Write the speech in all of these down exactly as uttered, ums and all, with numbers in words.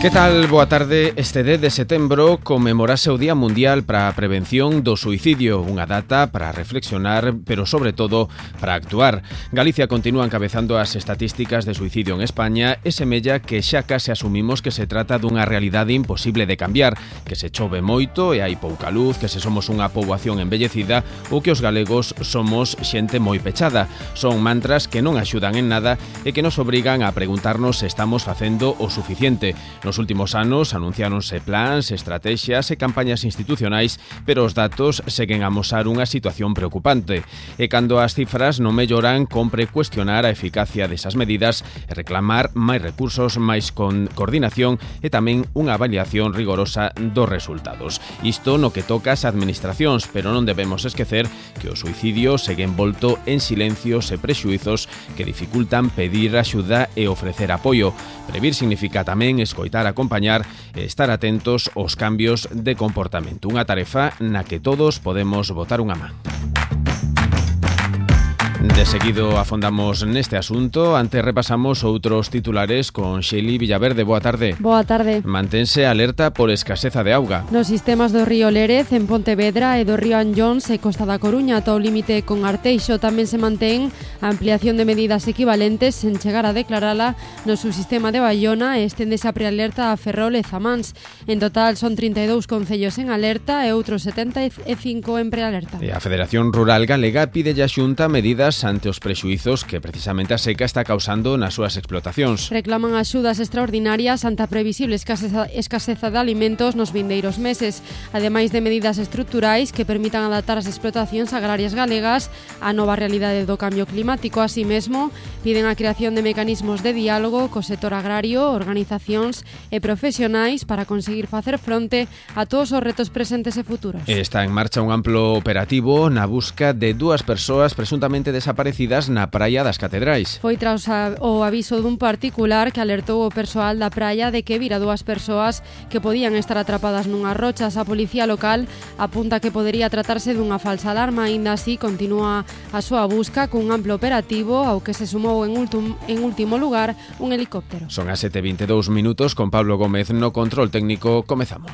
Que tal? Boa tarde. Este dez de setembro conmemorase o Día Mundial para a Prevención do Suicidio, unha data para reflexionar, pero sobre todo para actuar. Galicia continúa encabezando as estatísticas de suicidio en España e semella que xa case asumimos que se trata dunha realidade imposible de cambiar, que se chove moito e hai pouca luz, que se somos unha poboación envellecida ou que os galegos somos xente moi pechada. Son mantras que non axudan en nada e que nos obrigan a preguntarnos se estamos facendo o suficiente. Nos últimos anos anunciáronse plans, estrategias e campañas institucionais, pero os datos seguen a amosar unha situación preocupante. E cando as cifras non melloran, compre cuestionar a eficacia desas medidas e reclamar máis recursos, máis con coordinación e tamén unha avaliación rigorosa dos resultados. Isto no que toca as administracións, pero non debemos esquecer que o suicidio segue envolto en silencios e prexuizos que dificultan pedir axuda e ofrecer apoio. Previr significa tamén escoitar, acompañar e estar atentos aos cambios de comportamento. Unha tarefa na que todos podemos botar unha man. De seguido afondamos neste asunto. Antes repasamos outros titulares con Xeli Villaverde. Boa tarde. Boa tarde. Mantense alerta por escaseza de auga. Nos sistemas do río Lérez, en Pontevedra e do río Anllóns e Costa da Coruña ata o límite con Arteixo tamén se mantén a ampliación de medidas equivalentes sen chegar a declarala no subsistema de Baiona e esténdese a prealerta a Ferrol e Zamáns. En total son trinta e dous concellos en alerta e outros setenta e cinco en prealerta. E a Federación Rural Galega pide a Xunta medidas ante os prexuizos que precisamente a seca está causando nas súas explotacións. Reclaman axudas extraordinarias ante a previsible escaseza, escaseza de alimentos nos vindeiros meses, ademais de medidas estruturais que permitan adaptar as explotacións agrarias galegas á nova realidade do cambio climático. Así mesmo, piden a creación de mecanismos de diálogo co sector agrario, organizacións e profesionais para conseguir facer fronte a todos os retos presentes e futuros. Está en marcha un amplo operativo na busca de dúas persoas presuntamente desaparecidas na praia das Catedrais. Foi tras o aviso dun particular que alertou o persoal da praia de que vira dúas persoas que podían estar atrapadas nunhas rochas. A policía local apunta que podería tratarse dunha falsa alarma. Aínda así, continúa a súa busca cun amplo operativo ao que se sumou en, ultum, en último lugar un helicóptero. Son as sete e vinte e dous minutos con Pablo Gómez no control técnico. Comezamos.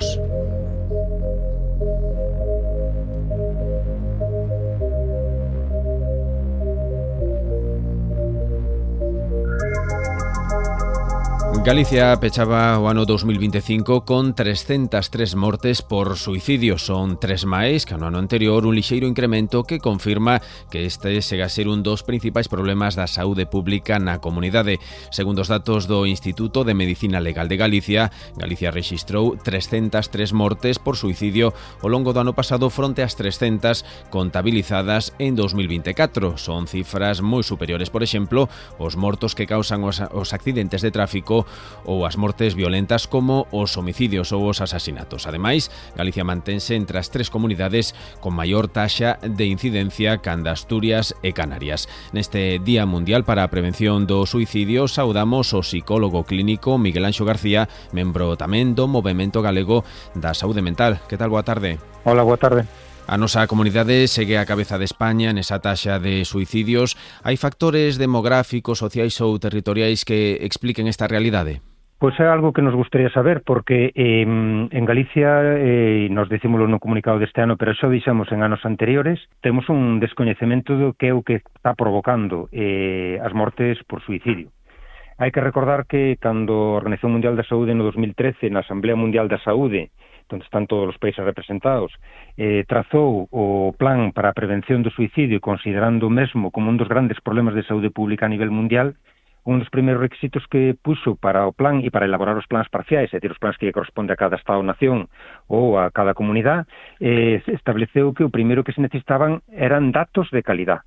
Galicia pechaba o ano dos mil vinte e cinco con trescentas tres mortes por suicidio. Son tres máis que no ano anterior, un lixeiro incremento que confirma que este chega a ser un dos principais problemas da saúde pública na comunidade. Segundo os datos do Instituto de Medicina Legal de Galicia, Galicia rexistrou trescentas tres mortes por suicidio ao longo do ano pasado fronte ás trescentas contabilizadas en dos mil vinte e catro. Son cifras moi superiores, por exemplo, os mortos que causan os, os accidentes de tráfico ou as mortes violentas como os homicidios ou os asasinatos. Ademais, Galicia mantense entre as tres comunidades con maior taxa de incidencia canda Asturias e Canarias. Neste Día Mundial para a Prevención do Suicidio saudamos o psicólogo clínico Miguel Anxo García, membro tamén do Movemento Galego da Saúde Mental. Que tal? Boa tarde. Hola, boa tarde. A nosa comunidade segue a cabeza de España nesa taxa de suicidios. Hai factores demográficos, sociais ou territoriais que expliquen esta realidade? Pois é algo que nos gustaría saber, porque eh, en Galicia, eh, nos decímoslo no comunicado deste ano, pero xa o dixemos en anos anteriores, temos un descoñecemento do que é o que está provocando eh, as mortes por suicidio. Hai que recordar que cando a Organización Mundial da Saúde no dos mil trece, na Asamblea Mundial da Saúde, onde están todos os países representados, eh, trazou o plan para a prevención do suicidio, considerando mesmo como un dos grandes problemas de saúde pública a nivel mundial. Un dos primeiros requisitos que puxo para o plan e para elaborar os plans parciais, é dicir, os plans que corresponde a cada Estado-nación ou a cada comunidade, eh, estableceu que o primeiro que se necesitaban eran datos de calidad.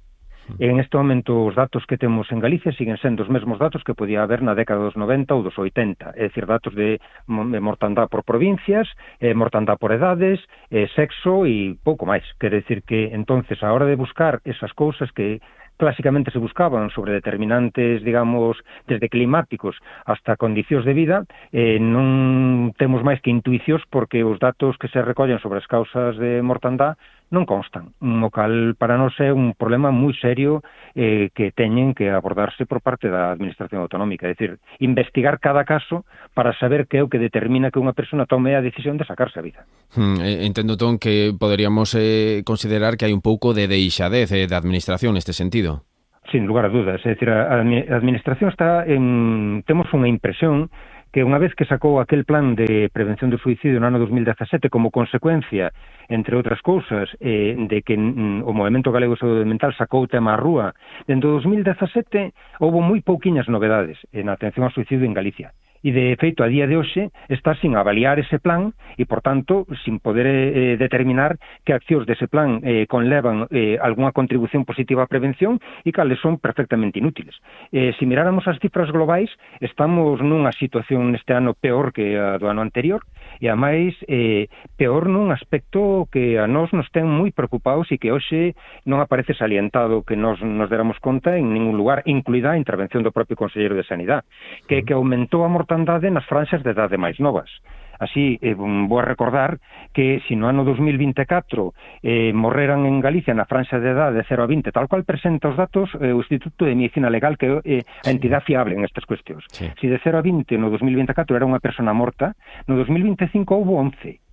En este momento os datos que temos en Galicia siguen sendo os mesmos datos que podía haber na década dos noventa ou dos oitenta, é dicir, datos de mortandade por provincias, eh, mortandade por edades, eh, sexo e pouco máis. Quere dicir que, entonces, a hora de buscar esas cousas que clásicamente se buscaban sobre determinantes, digamos, desde climáticos hasta condicións de vida, eh, non temos máis que intuicións porque os datos que se recollen sobre as causas de mortandade non constan, o cal para nós é un problema moi serio eh, que teñen que abordarse por parte da Administración Autonómica, é dicir, investigar cada caso para saber que é o que determina que unha persona tome a decisión de sacarse a vida. Hmm, entendo, entón, que poderíamos eh, considerar que hai un pouco de deixadez eh, da Administración neste sentido. Sin lugar a dudas, é dicir, a, a Administración está en... temos unha impresión que unha vez que sacou aquel plan de prevención do suicidio no ano dos mil dezasete como consecuencia, entre outras cousas, eh, de que mm, o Movemento Galego de Saúde Mental sacou o tema á rúa, dentro do dos mil dezasete houve moi pouquiñas novedades na atención ao suicidio en Galicia. E, de feito, a día de hoxe está sin avaliar ese plan e, por tanto, sin poder eh, determinar que accións dese plan eh, conlevan eh, algunha contribución positiva á prevención e cales son perfectamente inútiles. Eh, se miráramos as cifras globais, estamos nunha situación neste ano peor que a do ano anterior e, ademais, eh, peor nun aspecto que a nós nos ten moi preocupados e que hoxe non aparece salientado que nos, nos deramos conta en ningún lugar, incluída a intervención do propio Conselleiro de Sanidade, que, que aumentou a mortalidade nas franxas de idade máis novas. Así, eh, vou a recordar que se no ano dos mil vinte e catro eh, morreran en Galicia na franxa de idade de cero a vinte, tal cual presenta os datos eh, o Instituto de Medicina Legal, que é eh, a entidade fiable en estas cuestións. Sí. Se de cero a vinte no dos mil vinte e catro era unha persona morta, no dos mil vinte e cinco houve once.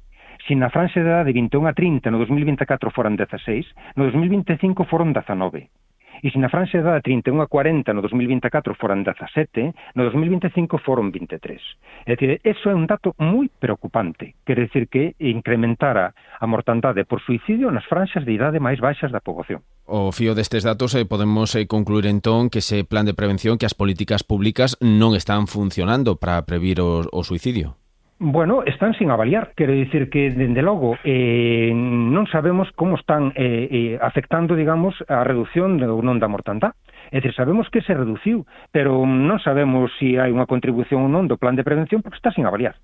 Se na franxa de idade de vinte e un a trinta no dos mil vinte e catro foran dezaseis, no dos mil vinte e cinco foron dezanove. E se na franxa de idade trinta e un a cuarenta no dos mil vinte e catro foran dezasete, no dos mil vinte e cinco foron vinte e tres. É dicir, eso é un dato moi preocupante. Quere dicir que incrementara a mortandade por suicidio nas franxas de idade máis baixas da poboación. O fío destes datos eh, podemos eh, concluir entón que ese plan de prevención, que as políticas públicas non están funcionando para previr o, o suicidio. Bueno, están sin avaliar, quero dicir que, dende logo, eh, non sabemos como están eh, eh, afectando, digamos, a reducción ou non da mortandade. É dicir, sabemos que se reduciu, pero non sabemos se hai unha contribución ou non do plan de prevención porque está sin avaliar.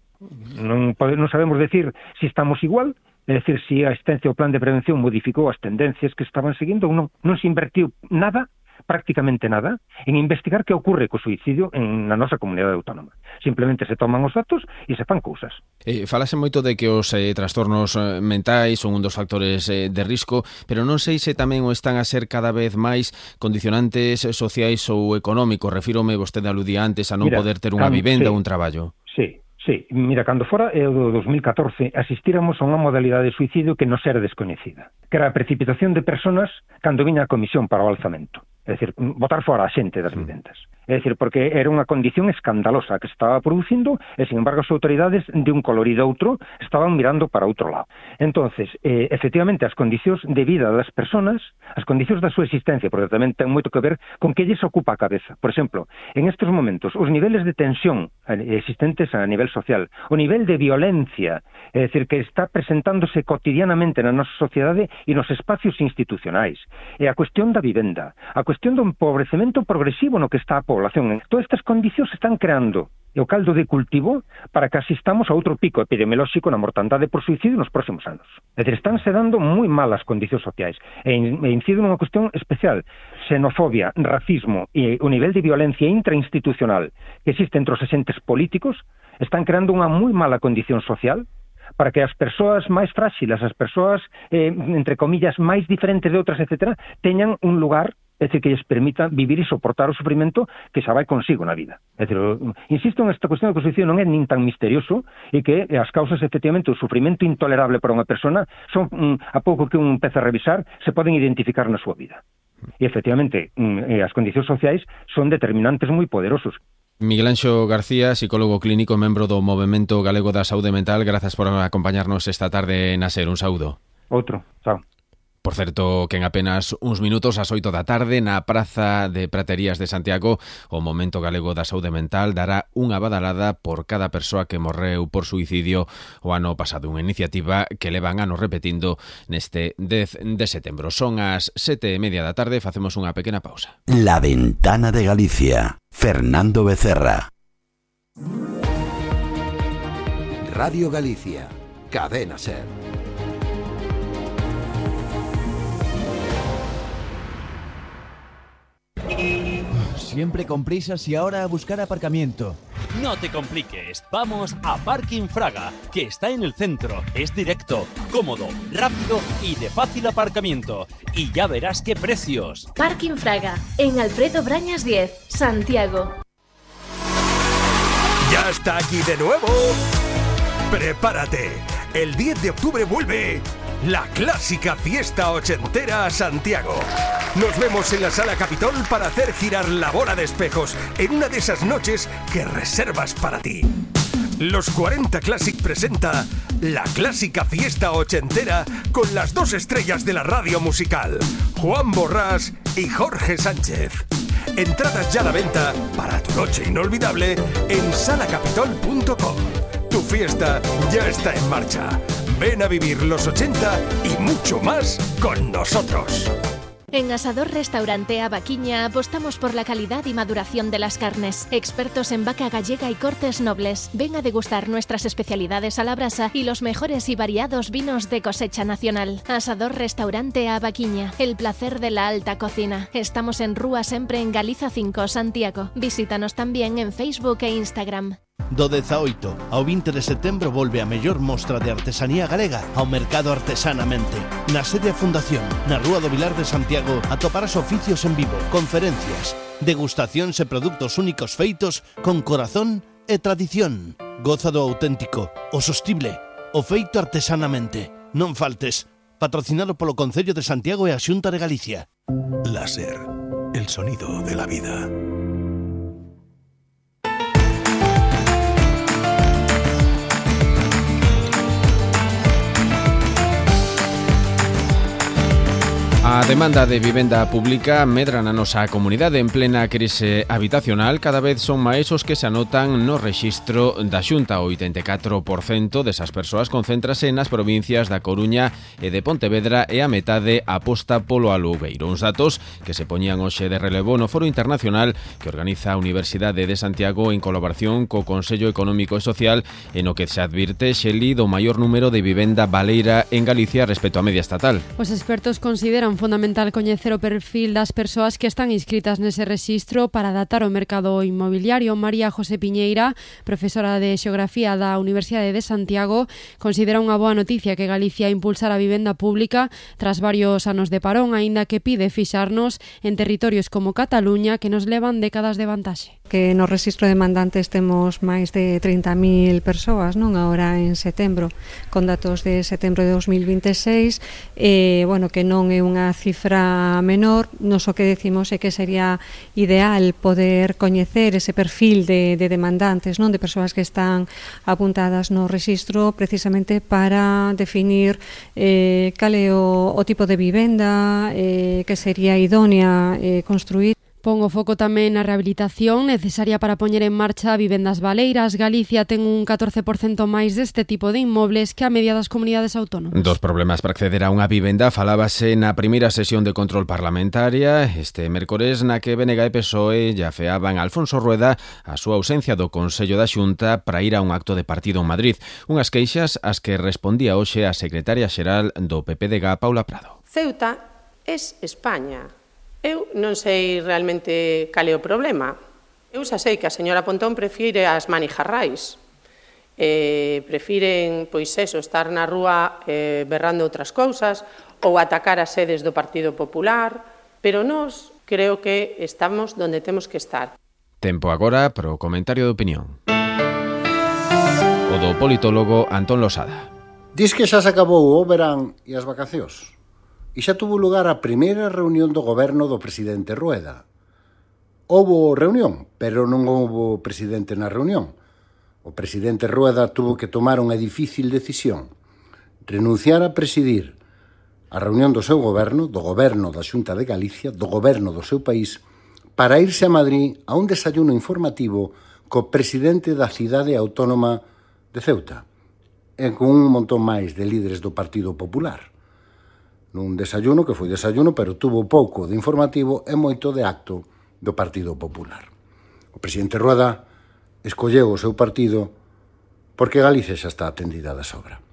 Non, pode, non sabemos decir se estamos igual, é dicir, se a existencia do plan de prevención modificou as tendencias que estaban seguindo ou non. Non se invertiu nada, prácticamente nada, en investigar que ocorre co suicidio en na nosa comunidade autónoma. Simplemente se toman os datos e se fan cousas. Eh, falase moito de que os eh, trastornos eh, mentais son un dos factores eh, de risco, pero non sei se tamén o están a ser cada vez máis condicionantes sociais ou económicos. Refírome, vostede aludía antes, a non Mira, poder ter unha vivenda ou sí, un traballo. Sí. Sí, mira, cando fora é o do dos mil catorce asistíramos a unha modalidade de suicidio que nos era descoñecida, que era a precipitación de personas cando viña a comisión para o alzamento. É dicir, botar fora a xente das vivendas. É dicir, porque era unha condición escandalosa que se estaba producindo e, sin embargo, as autoridades de un color e de outro estaban mirando para outro lado. Entonces, eh, efectivamente, as condicións de vida das personas, as condicións da súa existencia, porque tamén ten moito que ver con que lles ocupa a cabeza. Por exemplo, en estes momentos, os niveles de tensión existentes a nivel social, o nivel de violencia, é dicir, que está presentándose cotidianamente na nosa sociedade e nos espacios institucionais, e a cuestión da vivenda, a cuestión do empobrecemento progresivo no que está a población. Todas estas condicións están creando o caldo de cultivo para que asistamos a outro pico epidemiolóxico na mortandade por suicidio nos próximos anos. É dicir, estánse dando moi malas condicións sociais e incido nunha cuestión especial. Xenofobia, racismo e o nivel de violencia intrainstitucional que existe entre os agentes políticos están creando unha moi mala condición social para que as persoas máis fráxiles, as persoas, eh, entre comillas, máis diferentes de outras, etcétera, teñan un lugar, é dicir, que lles permita vivir e soportar o sufrimento que xa vai consigo na vida. É dicir, insisto en esta cuestión de que o suicidio non é nin tan misterioso e que as causas, efectivamente, o sufrimento intolerable para unha persona son, a pouco que un empece a revisar, se poden identificar na súa vida. E, efectivamente, as condicións sociais son determinantes moi poderosos. Miguel Anxo García, psicólogo clínico, membro do Movemento Galego da Saúde Mental, grazas por acompañarnos esta tarde na SER. Un saúdo. Outro, chao. Por certo, que en apenas uns minutos ás oito da tarde na Praza de Praterías de Santiago o Movemento Galego da Saúde Mental dará unha badalada por cada persoa que morreu por suicidio o ano pasado, unha iniciativa que levan anos repetindo neste dez de setembro. Son as sete e media da tarde, facemos unha pequena pausa. La Ventana de Galicia, Fernando Becerra. Radio Galicia, Cadena SER. Siempre con prisas y ahora a buscar aparcamiento. No te compliques, vamos a Parking Fraga, que está en el centro. Es directo, cómodo, rápido y de fácil aparcamiento. Y ya verás qué precios. Parking Fraga, en Alfredo Brañas diez, Santiago. ¡Ya está aquí de nuevo! ¡Prepárate! El diez de octubre vuelve la clásica fiesta ochentera a Santiago. Nos vemos en la Sala Capitol para hacer girar la bola de espejos en una de esas noches que reservas para ti. Los cuarenta Classic presenta la clásica fiesta ochentera con las dos estrellas de la radio musical, Juan Borrás y Jorge Sánchez. Entradas ya a la venta para tu noche inolvidable en sala capitol punto com. Tu fiesta ya está en marcha. Ven a vivir los ochenta y mucho más con nosotros. En Asador Restaurante A Vaquiña apostamos por la calidad y maduración de las carnes. Expertos en vaca gallega y cortes nobles. Ven a degustar nuestras especialidades a la brasa y los mejores y variados vinos de cosecha nacional. Asador Restaurante A Vaquiña, el placer de la alta cocina. Estamos en Rúa Sempre en Galiza cinco, Santiago. Visítanos también en Facebook e Instagram. Do dezaoito ao vinte de setembro volve a mellor mostra de artesanía galega ao mercado Artesanamente. Na sede da Fundación, na Rúa do Vilar de Santiago, atoparás oficios en vivo, conferencias, degustacións e produtos únicos feitos con corazón e tradición. Goza do auténtico, o sostible, o feito artesanamente. Non faltes. Patrocinado polo Concello de Santiago e a Xunta de Galicia. Láser, el sonido de la vida. A demanda de vivenda pública medra na nosa comunidade en plena crise habitacional. Cada vez son máis os que se anotan no rexistro da Xunta. O oitenta e catro por cento desas persoas concéntrase nas provincias da Coruña e de Pontevedra e a metade aposta polo alugueiro. Uns datos que se poñían hoxe de relevo no Foro Internacional que organiza a Universidade de Santiago en colaboración co Consello Económico e Social, en o que se advirte, Xeli, do maior número de vivenda baleira en Galicia respecto á media estatal. Os expertos consideran fundamental coñecer o perfil das persoas que están inscritas nese rexistro para adaptar o mercado inmobiliario. María José Piñeira, profesora de Xeografía da Universidade de Santiago, considera unha boa noticia que Galicia impulsara a vivenda pública tras varios anos de parón, aínda que pide fixarnos en territorios como Cataluña que nos levan décadas de vantaxe. Que no rexistro de mandantes temos máis de trinta mil persoas, non, agora en setembro, con datos de setembro de dos mil vinte e seis, eh, bueno, que non é unha cifra menor. Nos o que decimos é que sería ideal poder coñecer ese perfil de, de demandantes, non, de persoas que están apuntadas no rexistro, precisamente para definir eh, cal é o, o tipo de vivenda eh, que sería idónea eh, construir. Pon o foco tamén na rehabilitación necesaria para poñer en marcha vivendas baleiras. Galicia ten un catorce por cento máis deste tipo de inmobles que a media das comunidades autónomas. Dos problemas para acceder a unha vivenda falábase na primeira sesión de control parlamentaria este mércores, na que B N G e P S O E lle afeaban a Alfonso Rueda a súa ausencia do Consello da Xunta para ir a un acto de partido en Madrid. Unhas queixas ás que respondía hoxe a secretaria xeral do P P D G, Paula Prado. Ceuta es España. Eu non sei realmente cal é o problema. Eu xa sei que a señora Pontón prefire as manijarrais. Eh, prefiren, pois eso, estar na rúa eh, berrando outras cousas ou atacar as sedes do Partido Popular, pero nós creo que estamos donde temos que estar. Tempo agora pro comentario de opinión. O do politólogo Antón Losada. Dis que xa se acabou o verán e as vacacións. E xa tuvo lugar a primeira reunión do goberno do presidente Rueda. Houbo reunión, pero non houbo presidente na reunión. O presidente Rueda tuvo que tomar unha difícil decisión. Renunciar a presidir a reunión do seu goberno, do goberno da Xunta de Galicia, do goberno do seu país, para irse a Madrid a un desayuno informativo co presidente da cidade autónoma de Ceuta e con un montón máis de líderes do Partido Popular. Nun desayuno que foi desayuno, pero tuvo pouco de informativo e moito de acto do Partido Popular. O presidente Rueda escolleu o seu partido porque Galicia xa está atendida de sobra.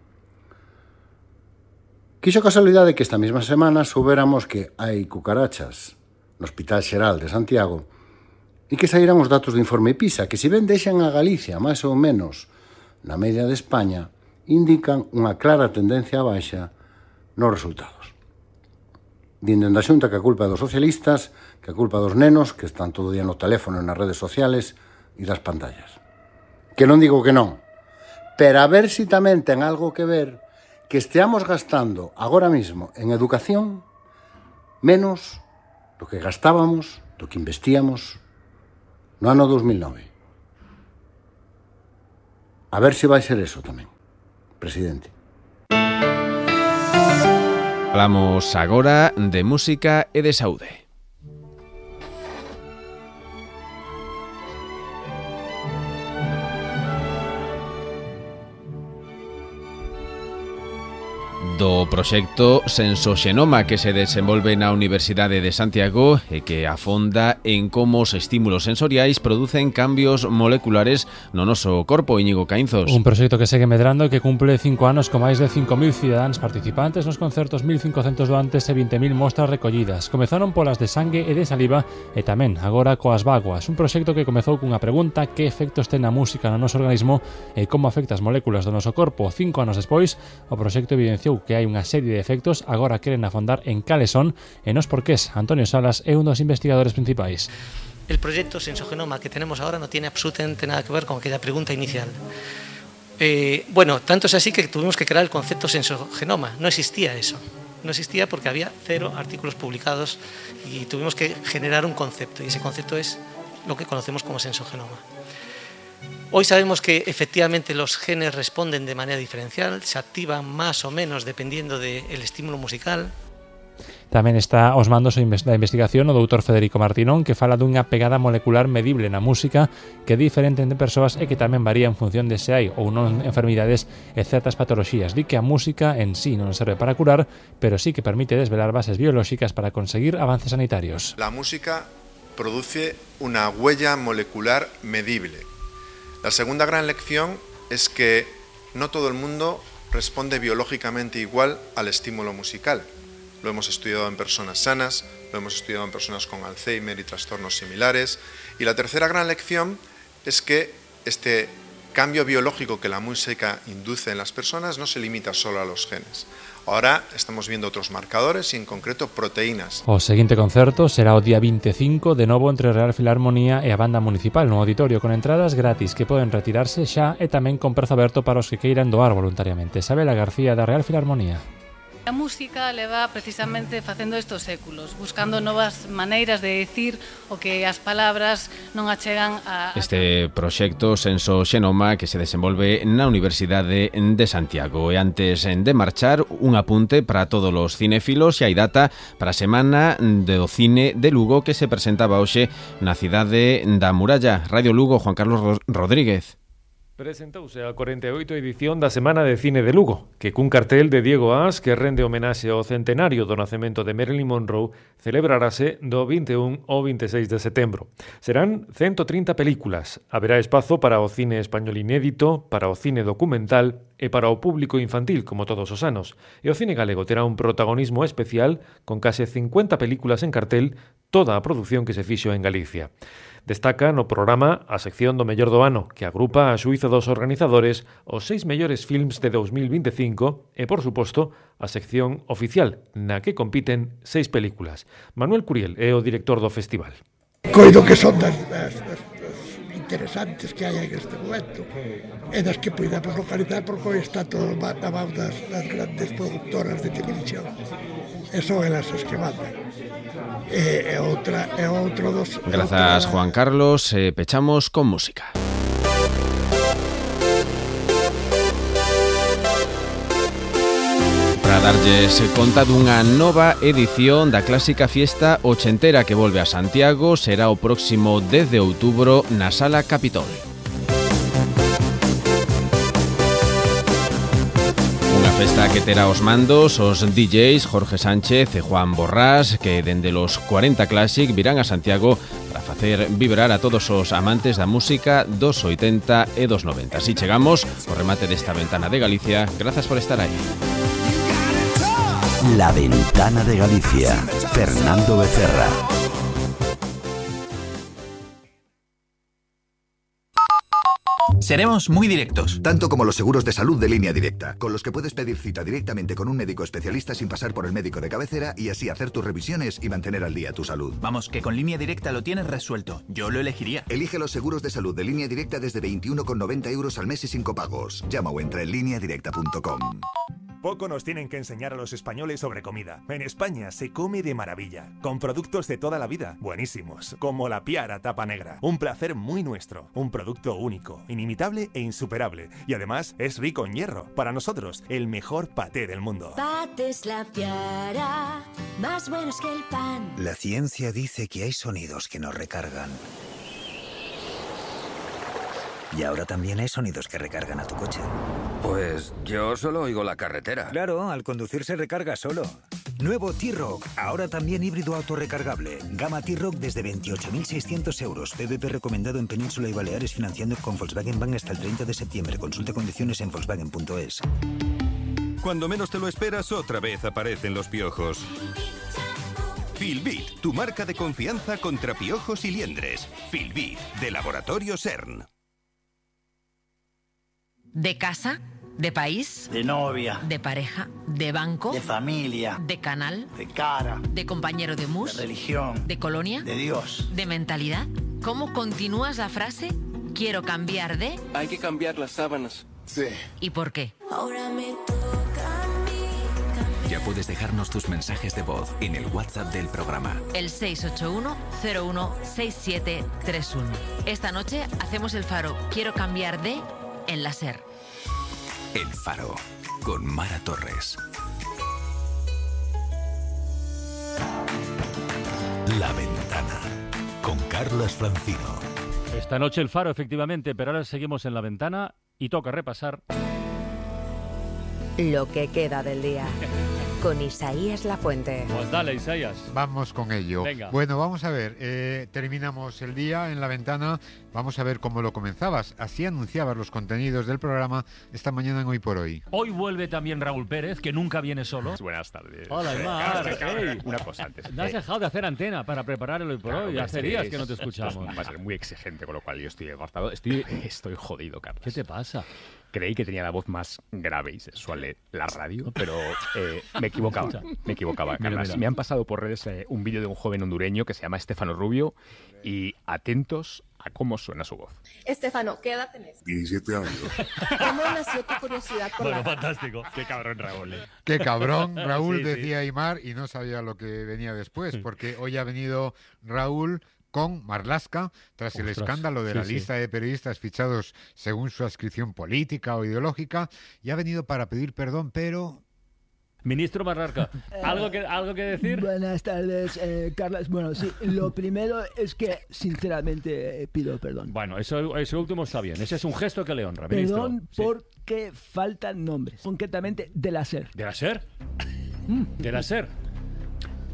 Quixo casualidade que esta mesma semana soubéramos que hai cucarachas no Hospital Xeral de Santiago E que saíran os datos do informe PISA, que se ben deixan a Galicia máis ou menos na media de España, indican unha clara tendencia a baixa nos resultados. Dindo da Xunta que a culpa é dos socialistas, que a culpa dos nenos, que están todo o día no teléfono e nas redes sociales e das pantallas. Que non digo que non, pero a ver si tamén ten algo que ver que esteamos gastando agora mismo en educación menos do que gastábamos, do que investíamos no ano dos mil nove. A ver se vai ser eso tamén, presidente. Falamos agora de música e de saúde. Do proxecto Sensoxenoma que se desenvolve na Universidade de Santiago e que afonda en como os estímulos sensoriais producen cambios moleculares no noso corpo. Íñigo Caínzos. Un proxecto que segue medrando e que cumple cinco anos con máis de cinco mil cidadáns participantes nos concertos, mil cincocentos doantes e vinte mil mostras recollidas. Comezaron polas de sangue e de saliva e tamén agora coas vaguas. Un proxecto que comezou cunha pregunta: que efectos ten a música no noso organismo e como afecta as moléculas do noso corpo? Cinco anos despois, o proxecto evidenciou que hai unha serie de efectos, agora queren afondar en cales son e nos porqués. Antonio Salas é un dos investigadores principais. El proyecto Sensogenoma que tenemos ahora no tiene absolutamente nada que ver con aquella pregunta inicial. Eh, bueno, tanto es así que tuvimos que crear el concepto Sensogenoma. No existía eso. No existía porque había cero artículos publicados y tuvimos que generar un concepto, y ese concepto es lo que conocemos como Sensogenoma. Hoy sabemos que efectivamente los genes responden de manera diferencial, se activan más o menos dependiendo del estímulo musical. Tamén está aos mandos da investigación o doutor Federico Martinón, que fala dunha pegada molecular medible na música que é diferente entre persoas e que tamén varía en función de se hai ou non enfermidades e certas patoloxías. Di que a música en sí non serve para curar, pero sí que permite desvelar bases biolóxicas para conseguir avances sanitarios. La música produce una huella molecular medible. La segunda gran lección es que no todo el mundo responde biológicamente igual al estímulo musical. Lo hemos estudiado en personas sanas, lo hemos estudiado en personas con Alzheimer y trastornos similares. Y la tercera gran lección es que este cambio biológico que la música induce en las personas no se limita solo a los genes. Ahora estamos viendo otros marcadores y en concreto proteínas. O seguinte concerto será o día veinticinco, de novo entre Real Filarmonía e a Banda Municipal no auditorio, con entradas gratis que poden retirarse xa e tamén con prezo aberto para os que queiran doar voluntariamente. Isabela García da Real Filarmonía. A música leva precisamente facendo estos séculos, buscando novas maneiras de dicir o que as palabras non achegan a... Este proxecto Sensoxenoma que se desenvolve na Universidade de Santiago. E antes de marchar, un apunte para todos os cinéfilos, e hai data para a Semana do Cine de Lugo que se presentaba hoxe na cidade da Muralla. Radio Lugo, Juan Carlos Rodríguez. Presentouse a cuarenta e oito edición da Semana de Cine de Lugo, que cun cartel de Diego As que rende homenaxe ao centenario do nacemento de Marilyn Monroe celebrarase do vinte e un ao vinte e seis de setembro. Serán ciento trinta películas. Haberá espazo para o cine español inédito, para o cine documental e para o público infantil, como todos os anos. E o cine galego terá un protagonismo especial con case cincuenta películas en cartel, toda a produción que se fixo en Galicia. Destaca no programa a sección do mellor do ano, que agrupa a xuízo dos organizadores os seis mellores films de dos mil vinte e cinco e, por suposto, a sección oficial, na que compiten seis películas. Manuel Curiel é o director do festival. Coido que son das, das, das, das interesantes que hai en este momento e das que podemos localizar porque hoy está todo na mão das, das grandes productoras de televisión e son elas as que mandan. E, e outra, e outro dos... Grazas, Juan Carlos. Eh, pechamos con música. Para darlles conta dunha nova edición da clásica fiesta ochentera que volve a Santiago, será o próximo dez de outubro na Sala Capitol. Festa que terá os mandos os D Js Jorge Sánchez e Juan Borrás, que dende los cuarenta Classic virán a Santiago para facer vibrar a todos os amantes da música dos oitenta e dos noventa. Así chegamos ao remate desta Ventana de Galicia. Grazas por estar aí. La Ventana de Galicia. Fernando Becerra. Seremos muy directos. Tanto como los seguros de salud de Línea Directa, con los que puedes pedir cita directamente con un médico especialista sin pasar por el médico de cabecera y así hacer tus revisiones y mantener al día tu salud. Vamos, que con Línea Directa lo tienes resuelto. Yo lo elegiría. Elige los seguros de salud de Línea Directa desde veintiuno con noventa euros al mes y sin copagos. Llama o entra en línea directa punto com. Poco nos tienen que enseñar a los españoles sobre comida. En España se come de maravilla, con productos de toda la vida, buenísimos, como la Piara tapa negra. Un placer muy nuestro, un producto único, inimitable e insuperable. Y además es rico en hierro. Para nosotros, el mejor paté del mundo. Patés La Piara, más buenos que el pan. La ciencia dice que hay sonidos que nos recargan. Y ahora también hay sonidos que recargan a tu coche. Pues yo solo oigo la carretera. Claro, al conducir se recarga solo. Nuevo T-Rock, ahora también híbrido autorrecargable. Gama T-Rock desde veintiocho mil seiscientos euros. P V P recomendado en Península y Baleares, financiando con Volkswagen Bank hasta el treinta de septiembre. Consulte condiciones en volkswagen punto es. Cuando menos te lo esperas, otra vez aparecen los piojos. Filbit, tu marca de confianza contra piojos y liendres. Filbit, de Laboratorio CERN. ¿De casa? ¿De país? De novia. ¿De pareja? ¿De banco? De familia. ¿De canal? De cara. ¿De compañero de mus? De religión. ¿De colonia? De Dios. ¿De mentalidad? ¿Cómo continúas la frase? Quiero cambiar de... Hay que cambiar las sábanas. Sí. ¿Y por qué? Ahora me toca a mí cambiar. Ya puedes dejarnos tus mensajes de voz en el WhatsApp del programa. El seis ocho uno cero uno seis siete tres uno. Esta noche hacemos el faro Quiero cambiar de... en la SER. El Faro, con Mara Torres. La Ventana, con Carlos Francino. Esta noche el Faro, efectivamente, pero ahora seguimos en La Ventana y toca repasar... lo que queda del día. Con Isaías Lafuente. Pues dale, Isaías. Vamos con ello. Venga. Bueno, vamos a ver. Eh, terminamos el día en La Ventana. Vamos a ver cómo lo comenzabas. Así anunciabas los contenidos del programa esta mañana en Hoy por Hoy. Hoy vuelve también Raúl Pérez, que nunca viene solo. Buenas tardes. Hola, Mar. Hey. Una cosa antes. No has dejado de hacer antena para preparar el Hoy por Claro, Hoy. Hace sí, días es- que no te escuchamos. Va a ser muy exigente, con lo cual yo estoy agotado. Estoy, estoy jodido, Carlos. ¿Qué te pasa? Creí que tenía la voz más grave y sexual de la radio, pero eh, me equivocaba. Me equivocaba, Mira, Carlos. mira. Me han pasado por redes eh, un vídeo de un joven hondureño que se llama Estefano Rubio y atentos a cómo suena su voz. Estefano, ¿qué edad tenés? diecisiete años. ¿Cómo nació tu curiosidad por la radio? fantástico. Qué cabrón, Raúl. eh. Qué cabrón, Raúl, Sí, sí. decía Aymar, y no sabía lo que venía después, porque hoy ha venido Raúl con Marlaska, tras el Ostras, escándalo de sí, la sí. lista de periodistas fichados según su adscripción política o ideológica, y ha venido para pedir perdón, pero... Ministro Marlarca, ¿algo que, ¿algo que decir? Buenas tardes, eh, Carlos. Bueno, sí, lo primero es que sinceramente eh, pido perdón. Bueno, eso, eso último está bien. Ese es un gesto que le honra, ministro. Perdón Sí. porque faltan nombres, concretamente de la SER. ¿De la SER? ¿De la SER?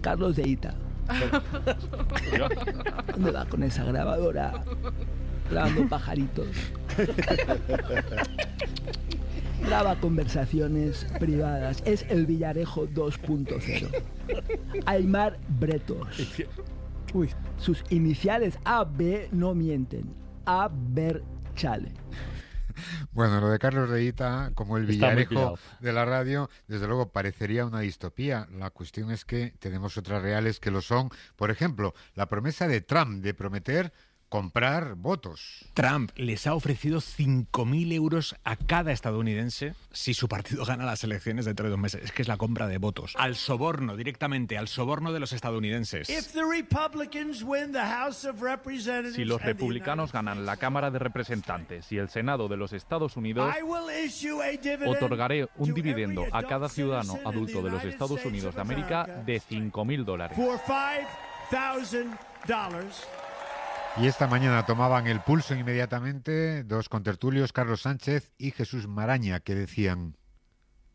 Carlos de Ita. ¿Dónde va con esa grabadora? Grabando pajaritos. Graba conversaciones privadas. Es el Villarejo dos punto cero. Aymar Bretos. Uy, sus iniciales A B no mienten. A Ver Chale. Bueno, lo de Carlos de Ita, como el Está muy Villarejo pillado. de la radio, desde luego parecería una distopía. La cuestión es que tenemos otras reales que lo son. Por ejemplo, la promesa de Trump de prometer comprar votos. Trump les ha ofrecido cinco mil euros a cada estadounidense si su partido gana las elecciones dentro de dos meses. Es que es la compra de votos. Al soborno, directamente, al soborno de los estadounidenses. If the Republicans win the House of Representatives Si los and the republicanos ganan la Cámara de Representantes y el Senado de los Estados Unidos, I will issue a dividend otorgaré un to dividendo every a adult cada ciudadano citizen adulto in de the los United Estados States Unidos of de América America de cinco mil dólares. for five thousand dollars. Y esta mañana tomaban el pulso inmediatamente dos contertulios, Carlos Sánchez y Jesús Maraña, que decían...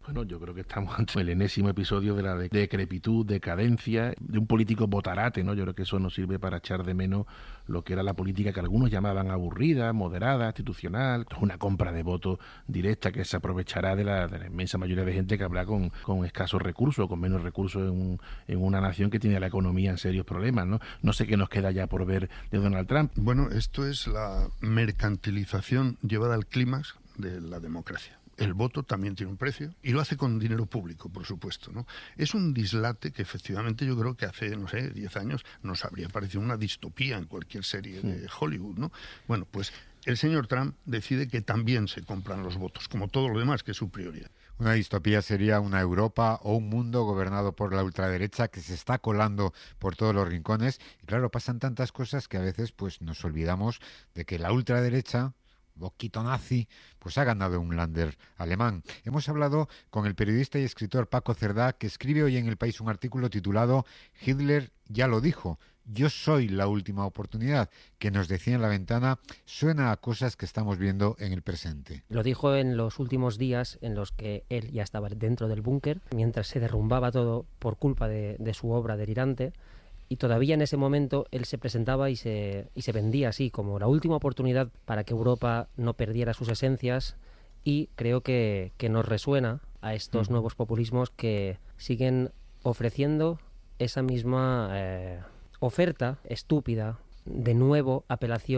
Bueno, yo creo que estamos ante el enésimo episodio de la de- decrepitud, decadencia, de un político botarate, ¿no? Yo creo que eso nos sirve para echar de menos lo que era la política que algunos llamaban aburrida, moderada, institucional, una compra de votos directa que se aprovechará de la, de la inmensa mayoría de gente que habrá con, con escasos recursos, con menos recursos en, un- en una nación que tiene la economía en serios problemas, ¿no? No sé qué nos queda ya por ver de Donald Trump. Bueno, esto es la mercantilización llevada al clímax de la democracia. El voto también tiene un precio y lo hace con dinero público, por supuesto, ¿no? Es un dislate que efectivamente yo creo que hace, no sé, diez años nos habría parecido una distopía en cualquier serie de Hollywood, ¿no? Bueno, pues el señor Trump decide que también se compran los votos, como todo lo demás, que es su prioridad. Una distopía sería una Europa o un mundo gobernado por la ultraderecha que se está colando por todos los rincones. Y claro, pasan tantas cosas que a veces pues nos olvidamos de que la ultraderecha, boquito nazi, pues ha ganado un Länder alemán. Hemos hablado con el periodista y escritor Paco Cerdá, que escribe hoy en El País un artículo titulado Hitler ya lo dijo, yo soy la última oportunidad, que nos decía en La Ventana, suena a cosas que estamos viendo en el presente. Lo dijo en los últimos días en los que él ya estaba dentro del búnker, mientras se derrumbaba todo por culpa de, de su obra delirante. Y todavía en ese momento él se presentaba y se, y se vendía así como la última oportunidad para que Europa no perdiera sus esencias, y creo que, que nos resuena a estos mm. nuevos populismos que siguen ofreciendo esa misma eh, oferta estúpida, de nuevo apelación